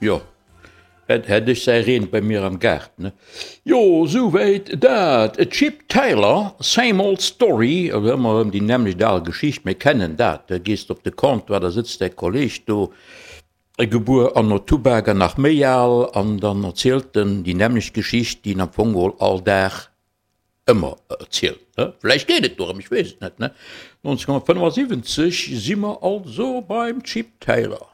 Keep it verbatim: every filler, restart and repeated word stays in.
Jo, hätt hätt ech säi Reen bei mir am Gaart, ne? Jo, souwäit dat. Chip Taylor, Same Old Story, also ëmmer erëm déi nämmlecht al Geschicht, mir kennen dat, da gees de op de Comptoir, da sëtzt däi Kolleg do, gebuer anno Tubak an nach méi al, an dann erzielt en déi nämmlecht Geschicht, déi en am Fong geholl all Dag ëmmer erzielt. Vläicht geet et dorëm, ech weess et net. nonzénhonnertfënnefasiwwenzeg si mer also beim Chip Taylor.